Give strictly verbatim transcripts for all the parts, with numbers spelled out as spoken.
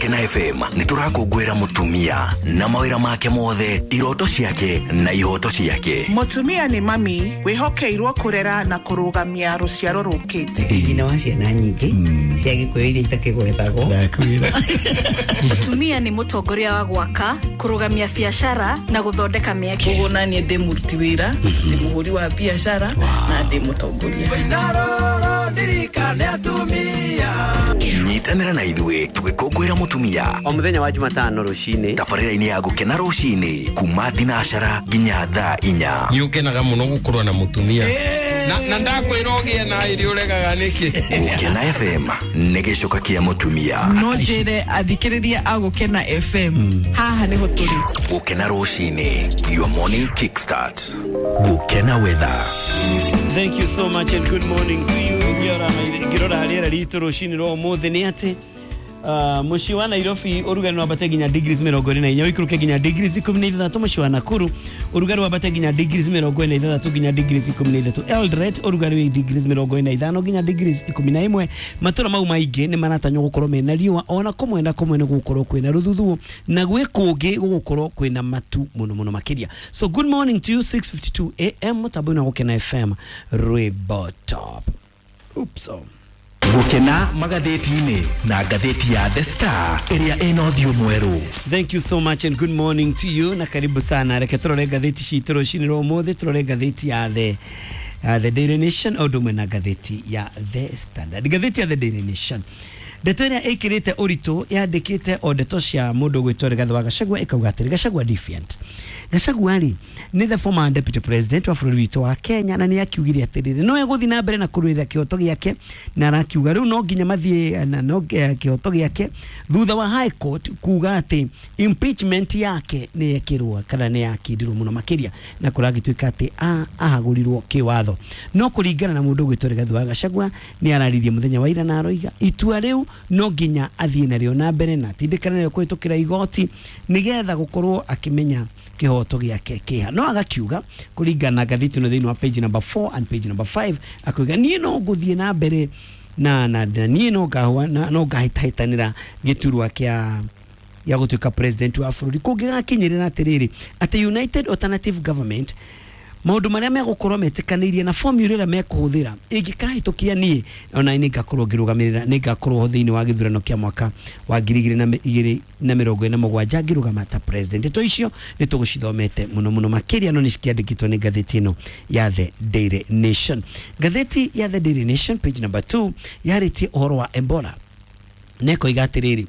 Gũkena F M nĩ tũrakũngũĩra mũtumia na mawĩra make mothe, iroto ciake na ihoto ciake. Mũtumia nĩ mami wĩhokeirwo kũrera na kũrũgamia rũciaro rũkĩte. Nyina wa ciana nyingĩ cia Gĩkũyũ iria itakĩgwetagwo. Mũtumia nĩ mũtongoria wa gwaka, kũrũgamia biacara na gũthondeka mĩeke. Koguo naniĩ ndĩ mũruti wĩra, ndĩ mũhũri wa biacara na ndĩ mũtongoria. Nyitanĩra na ithuĩ tũgĩkũngũĩra mũtumia o mũthenya wa Jumatano rũcinĩ tabarĩra-inĩ ya Gũkena rũcinĩ kuma thinacara nginya thaa inya. Nĩ ũkenaga mũno gũkorwo na mũtumia na na ndakwĩra ũgĩe na irio ũregaga nĩkĩ. Gũkena F M nĩ gĩcoka kĩa mũtumia. No njĩre athikĩrĩria a Gũkena F M haha nĩho tũrĩ. Gũkena rũcinĩ, your morning kickstart. Gũkena weather. Thank you so much and good morning to you. Ngirora rĩera ritũ rũcinĩ rwa ũmũthĩ nĩ atĩ uh, mũciĩ wa Nairobi ũrugarĩ wambate nginya degrees mĩrongo ĩrĩ na inya ũikũrũke nginya degrees ikũmi na ithathatũ. Mũciĩ wa Nakuru ũrugarĩ wambate nginya degrees mĩrongo ĩna na ithathatũ nginya degrees ikũmi na ithatũ. Eldoret ũrugarĩ wĩ degrees mĩrongo ĩna na ithano nginya degrees ikũmi na ĩmwe. Matũra mau maingĩ nĩ maratanywo gũkorwo mena riũa, ona kũmwe na kũmwe nĩ gũgũkorwo kwĩna rũthuthuũ na gwĩ kũngĩ gũgũkorwo kwĩna matu mũno mũno makĩria. So good morning to you, six fifty-two A M mũtambo-inĩ wa Gũkena F M rwĩmbo top. Oops. Oh. Gũkena magathĩti-inĩ na ngathĩti ya The Star ĩrĩa ĩna ũthiũ mwerũ. Thank you so much and good morning to you na karibu sana. Reke tũrore ngathĩti citũ rũcinĩ rwa ũmũthĩ, tũrore ngathĩti ya The uh, The Daily Nation o ũndũ ũmwe na ngathĩti ya The Standard. Ngathĩti ya The Daily Nation ndeto ĩrĩa ĩkĩrĩte ũritũ yandĩkĩte o ndeto cia mũndũ ũgwĩtwo Rigathĩ wa Gachagua ĩkauga atĩrĩ, Gachagua defiant. Gachagua rĩ nĩ the former deputy president wa bũrũri witũ wa Kenya na nĩ akiugire atĩrĩrĩ no egũthiĩ na mbere na kũrũĩrĩra kĩhoto gĩake, na arakiuga rĩu no nginya mathiĩ na no kĩhoto gĩake thutha wa High Court kuga atĩ impeachment yake nĩ yekĩrwo kana nĩ yakindirwo mũno makĩria na kũragĩtuĩka atĩ ahagũrirwo kĩwatho. No kũringana na mũndũ ũgwĩtwo Rigathĩ wa Gachagua nĩ araririe mũthenya wa ira na aroiga itua rĩu no nginya athiĩ narĩo na mbere na atindĩkane narĩo kũhĩtũkĩra igoti nĩgetha gũkorwo akĩmenya kĩhoto gĩake kĩha. No agakiuga kũringana na ngathĩti ĩno thĩinĩ wa page number four and page number five akauga niĩ no ngũthiĩ na mbere na na niĩ no ngahũa no ngahĩtahĩtanĩra gĩturwa kĩa ya gũtuĩka president wa bũrũri kũngĩgakinyĩrĩra atĩrĩrĩ atĩ United Alternative Government maũndũ marĩa megũkorwo metĩkanĩirie na formula ĩrĩa mekũhũthĩra ĩngĩkahĩtũkia niĩ ona nĩ ngakorwo ngĩrũgamĩrĩra nĩ ngakorwo thĩinĩ wa gĩthurano kĩa mwaka wa ngiri igĩrĩ na igĩrĩ na mĩrongo ĩna na mũgwanja ngĩrũgama ta president. Ndeto icio nĩ tũgũcithomete mũno mũno makĩria no nĩ cikĩandĩkĩtwo nĩ ngathĩti ĩno ya The Daily Nation. Ngathĩti ya The Daily Nation page number two yarĩtie ũhoro wa Ebola nekoiga atĩrĩrĩ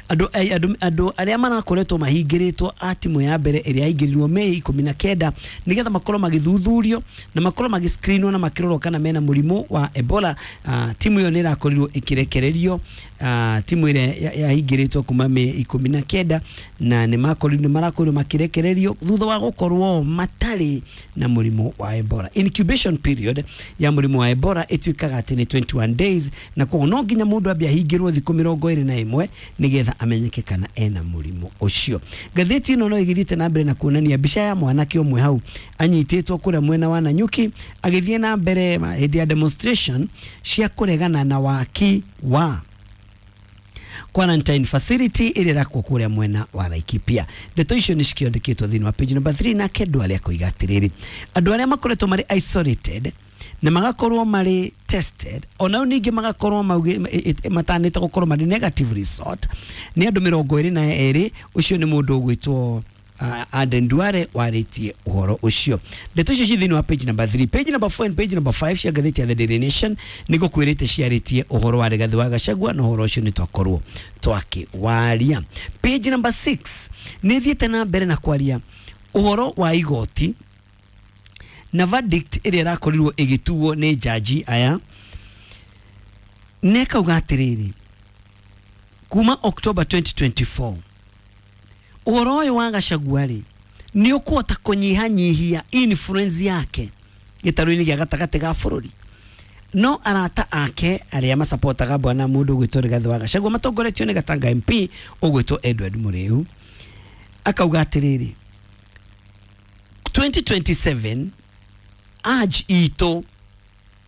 andũ andũ andũ arĩa marakoretwo mahingĩrĩtwo a timu ya mbere ĩrĩa yaingĩrirwo Mei ikũmi na kenda nĩgetha makorwo magĩthuthurio na makorwo magĩscreenwo na makĩrorwo kana mena mũrimũ wa Ebola. Uh, timu ĩyo nĩ ĩrakorirwo ĩkĩrekererio uh, timu ĩrĩa yahingĩrĩtwo kuma Mei ikũmi na kenda na nĩ makorirwo nĩ marakorirwo makĩrekererio thutha wa gũkorwo matarĩ na mũrimũ wa Ebola. Incubation period ya mũrimũ wa Ebola ĩtuĩkaga atĩ nĩ twenty-one days na koguo no nginya mũndũ ambe ahingĩrwo thikũ mĩrongo ĩrĩ na ĩmwe nĩgetha amenyeke kana ena mũrimũ ũcio. Ngathĩti ĩno no ĩgĩthiĩte na mbere na kuonania mbica ya mwanake ũmwe hau anyitĩtwo kũrĩa mwena wa Nanyuki agĩthiĩ na mbere hĩndĩ ya demonstration cia kũregana na waki wa quarantine facility ĩrĩa ĩrakwo kũrĩa mwena wa Laikipia. Ndeto icio nĩ cikĩandĩkĩtwo thĩinĩ wa page number three nake Ndwale akoiga atĩrĩrĩ andũ arĩa makoretwo marĩ isolated na magakorwo marĩ tested ona ningĩ magakorwo matanĩte gũkorwo marĩ negative result nĩ andũ mĩrongo ĩrĩ na ĩrĩ. Ũcio nĩ mũndũ ũgwĩtwo Aden Duale warĩtie ũhoro ũcio. Ndeto icio ci thĩinĩ wa page number three, page number four and page number five cia ngathĩti ya The Daily Nation nĩ ngũkwĩrĩte ciarĩtie ũhoro wa Rigathĩ wa Gachagua na ũhoro ũcio nĩ twakorwo twakĩwaria. Page number six nĩ ĩthiĩte na mbere na kwaria ũhoro wa igoti na verdict ĩrĩa ĩrakorirwo ĩgĩtuo nĩ jaji aya nekauga atĩrĩrĩ kuma October twenty twenty-four ũhoro ũyũ wa Gachagua rĩ nĩ ũkũhota kũnyihanyihia influence yake gĩtarũ-inĩ gĩa gatagatĩ ga bũrũri. No arata ake arĩa masapotaga bwana mũndũ ũgwĩtwo Rigathĩ wa Gachagua matongoretio nĩ Gatanga M P ũgwĩtwo Edward Mũrĩu akauga atĩrĩrĩ twenty twenty-seven urge itũ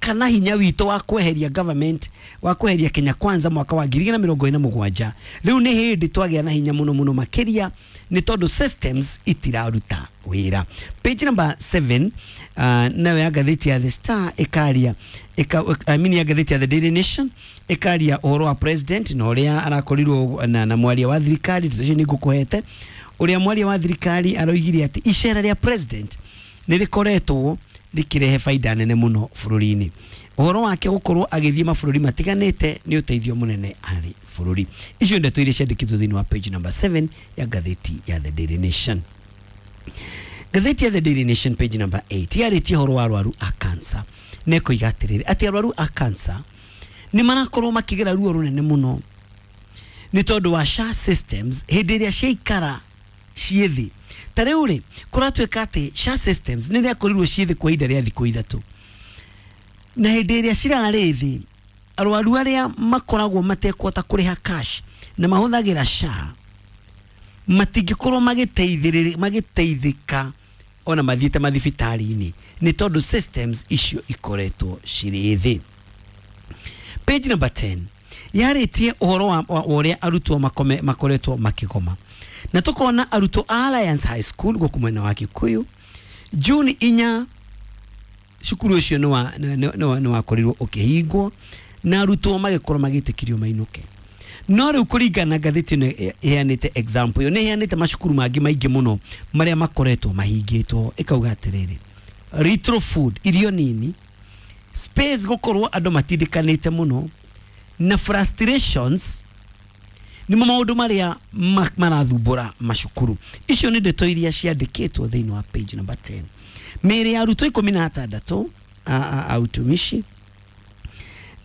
kana hinya witũ wa kweheria government wa kweheria Kenya Kwanza mwaka wa ngiri igĩrĩ na mĩrongo ĩna na mũgwanja. Rĩu nĩ hĩndĩ twagĩa na hinya mũno mũno makĩria nĩ tondũ systems itiraruta wĩra. Page number seven uh, nayo ya ngathĩti ya The Star ĩkaria ĩka, I mean ya ngathĩti ya The Daily Nation ĩkaria ũhoro wa president na ũrĩa arakorirwo na, na mwaria wa thirikari. Ndeto icio nĩ ngũkũhete ũrĩa mwaria wa thirikari aroigire atĩ icera rĩa president nĩ rĩkoretwo rĩkĩrehe faida nene mũno bũrũri-inĩ. Ũhoro wake gũkorwo agĩthiĩ mabũrũri matiganĩte nĩ ũteithio mũnene harĩ bũrũri. Icio ndeto iria ciandĩkĩtwo thĩinĩ wa page number seven ya ngathĩti ya The Daily Nation. Ngathĩti ya The Daily Nation page number eight yarĩtie ũhoro wa arwaru a cancer na ĩkoiga atĩrĩrĩ atĩ arwaru a cancer nĩ marakorwo makĩgera ruo rũnene mũno nĩ tondũ wa S H A systems hĩndĩ ĩrĩa ciaikara ciĩ thĩ. Ta rĩu rĩ kũratuĩka atĩ S H A systems nĩ rĩakorirwo ciĩ thĩ kwa ihinda rĩa thikũ ithatũ, na hĩndĩ ĩrĩa cirarĩ thĩ arwaru arĩa makoragwo matekũhota kũrĩha cash na mahũthagĩra S H A matingĩkorwo magĩteithĩrĩria magĩteithĩka ona mathiĩte mathibitarĩ-inĩ nĩ tondũ systems icio ikoretwo cirĩ thĩ. Page number ten yarĩtie ũhoro wa wa ũrĩa arutwo makome makoretwo makĩgoma, na tukona arutwo a Alliance High School gũkũ mwena wa Kikuyu June inya cukuru ũcio nĩ wakorirwo ũkĩhingwo na arutwo magĩkorwo magĩtĩkĩrio mainũke. No rĩu kũringana na ngathĩti ĩno ĩheanĩte example ĩyo nĩ ĩheanĩte macukuru mangĩ maingĩ mũno marĩa makoretwo mahingĩtwo, ĩkauga atĩrĩrĩ retro food irio nini space gũkorwo andũ matindĩkanĩte mũno na frustrations nĩmo maũndũ marĩa marathumbũra macukuru. Icio nĩ ndeto iria ciandĩkĩtwo thĩinĩ wa page number ten. Mĩĩrĩ ya arutwo ikũmi na atandatũ a utumishi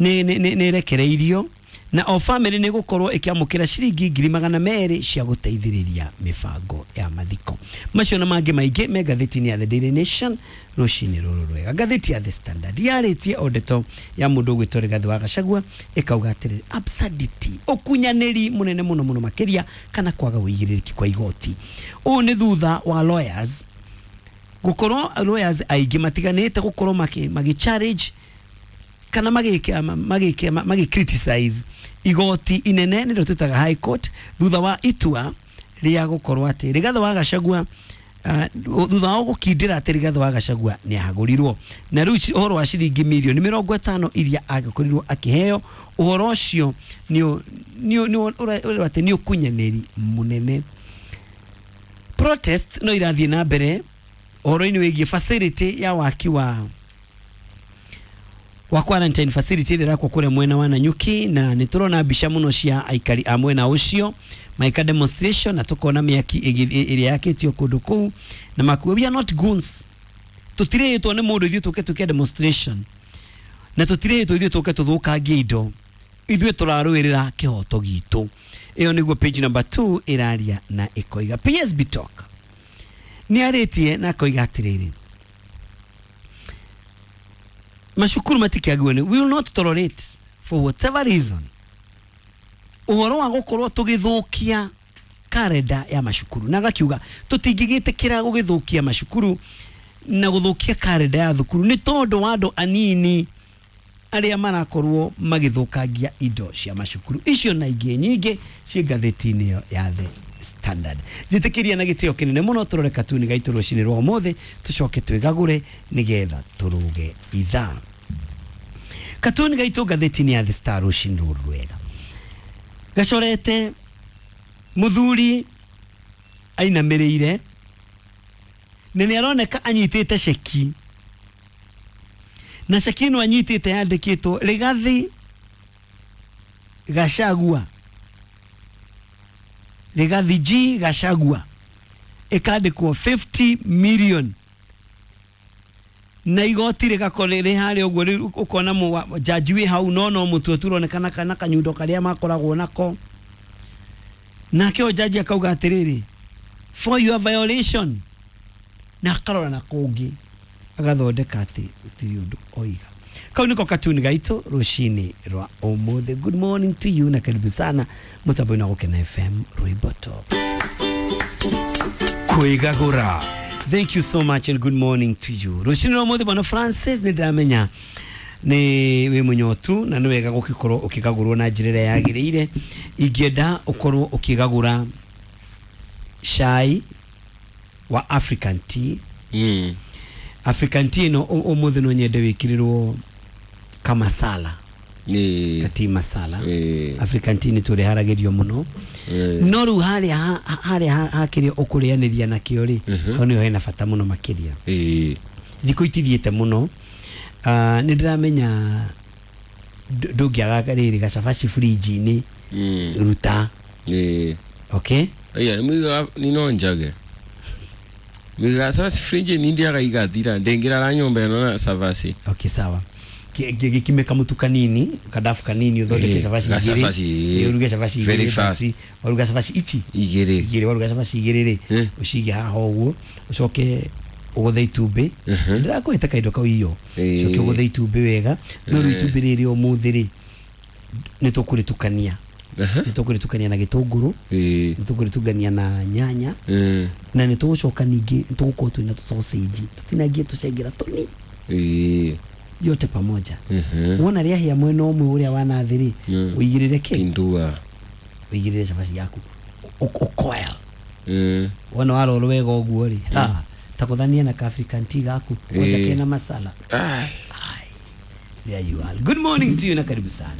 nĩ nĩ ĩrekereirio na o family nĩ gũkorwo ĩkĩamũkĩra ciringi ngiri magana merĩ cia gũteithĩrĩria mĩbango ya mathiko. Macio na mangĩ maingĩ me ngathĩti-inĩ ya The Daily Nation rũcinĩ rũrũ rwega. Ngathĩti ya The Standard yarĩtie o ndeto ya mũndũ ũgwĩtwo Rigathĩ wa Gachagua ĩkauga atĩrĩrĩ absurdity ũkunyanĩri mũnene mũno mũno makĩria kana kwaga ũigĩrĩrĩki kwa igoti. Ũũ nĩ thutha wa lawyers gũkorwo lawyers aingĩ matiganĩte gũkorwo magi challenge kana magike magike magi criticize igoti inene nĩrĩo twĩtaga High Court thutha wa itua rĩa gũkorwo atĩ Rigathĩ wa Gachagua uh, thutha wa gũkindĩra atĩ Rigathĩ wa Gachagua nĩ ahagũrirwo na rĩu ũhoro wa ciringi mirioni mĩrongo ĩtano iria agĩkorirwo akĩheo ũhoro ũcio nĩ nĩ ũrĩa atĩ nĩ ũkunyanĩri mũnene. Protest no irathiĩ na mbere ũhoro-inĩ wĩgiĩ facility ya waki wa wa quarantine facility ĩrĩa ĩrakwo kũrĩa mwena wa Nanyuki, na nĩ tũrona mbica mũno cia aikari a mwena ũcio maika demonstration na tukona mĩaki ĩrĩa yakĩtio kũndũ kũu na makuo we are not goons, tũtirĩtwo nĩ mũndũ ithuĩ tũke tũke demonstration na tũtirĩtwo ithuĩ tũke tũthũkangie indo, ithuĩ tũrarũĩrĩra kĩhoto gitũ. Ĩyo nĩguo page number two ĩraria na ĩkoiga. P S B Talk nĩ arĩtie na akoiga atĩrĩrĩ macukuru matikĩagĩrĩirwo nĩ we will not tolerate for whatever reason ũhoro wa gũkorwo tũgĩthũkia karenda ya macukuru, na agakiuga tũtingĩgĩtĩkĩra gũgĩthũkia macukuru na gũthũkia karenda ya thukuru nĩ tondũ wa andũ anini arĩa marakorwo magĩthũkangia indo cia macukuru. Icio na ingĩ nyingĩ ciĩ ngathĩti-inĩ ĩyo ya The Standard. Njĩtĩkĩria na gĩtĩo kĩnene mũno tũrore katuni gaitũ rũcinĩ rwa ũmũthĩ tũcoke twĩgagũre nĩgetha tũrũge ithaa. Katuni gaitũ ngathĩti-inĩ ya The Star rũcinĩ rũrũ rwega gacorete mũthuri ainamĩrĩire na nĩ aroneka anyitĩte ceki, na ceki ĩno anyitĩte yandĩkĩtwo Rigathĩ Gachagua, Rigathĩ G Gachagua, ĩkandĩkwo fifty million na igoti rĩgakorwo rĩ harĩa ũguo. Rĩu ũkona jaji wĩ hau no no mũtwe tu ũronekana kana kanyundo karĩa makoragwo nako, nake o jaji akauga atĩrĩrĩ for your violation, na akarora na kũngĩ agathondeka atĩ gũtirĩ ũndũ oiga. Kau niko katuni gaitũ rũcinĩ rwa ũmũthĩ. Good morning to you na karibu sana mũtambo-inĩ wa Gũkena F M rwĩmbo top Kwĩgagũra. Thank you so much and good morning to you. Rũcinĩ rwa ũmũthĩ bwana Francis nĩ ndĩramenya Nĩ wĩ mũnyotu na nĩ wega gũgĩkorwo ũkĩgagũrwo na njĩra ĩrĩa yagĩrĩire. Ingĩenda ũkorwo ũkĩgagũra cai wa African tea. Mm. African tea ĩno ũ- ũmũthĩ no nyende wĩkĩrĩrwo kamasala, Ĩĩ. tea masala. Ĩĩ. African tea nĩ tũrĩharagĩrio mũno, Ĩĩ. no rĩu harĩa ha- harĩa ha- hakĩrĩa ũkũrĩanĩria nakĩo rĩ, hau nĩho hena bata mũno makĩria. Ĩĩ. Thikũ itithiĩte mũno. Ah, nĩ ndĩramenya ndũ- ndũngĩaga rĩrĩ gacabaci fridge-inĩ. Mm. Ruta. Ĩĩ. Okay. Aya nĩ muiga nino njage. Muiga cabaci fridge ni ndiaga igathira ndingirara nyumba ĩno na cabaci. Okay, sawa. Ki- ki- gĩkime kamũtu kanini, kadafu kanini, ũthondeke Eh, cabaci gacabaci, igĩrĩ. eh. Eh, ũruge cabaci Very igĩrĩ fast. basi. Waruga cabaci ici Igĩrĩ. igĩrĩ, waruga cabaci igĩrĩ rĩ, Eh. ũcige haha ũguo, ũcoke ũgũthe itumbĩ. Ndĩrakũhĩte kaindo kau iyo. Eh. Ũcoke ũgũthe itumbĩ wega, no rĩu itumbĩ rĩrĩ ũmũthĩ rĩ, nĩ tũkũrĩtukania. Aha. Nĩ tũkũrĩtukania na gĩtũngũrũ, Ĩĩ. nĩ tũkũrĩtukania na nyanya, Mm. na nĩ tũgũcoka ningĩ nĩ tũgũkorwo twĩna tũsausage tũtinangie tũcengera tũni Ĩĩ. yote pamoja. Mhm. Wona rĩahĩa mwena ũmwe ũrĩa wa nathĩ rĩ, Mm. ũigĩrĩre kĩ? Pindua. Ũigĩrĩre cabaci yaku. Ũkoil. Mm. Wona warorwo wega ũguo rĩ, ha, takũthania na ka African tea gaku kwanja Eh. kena masala. Ai. There you are. Good morning to you na karibu sana.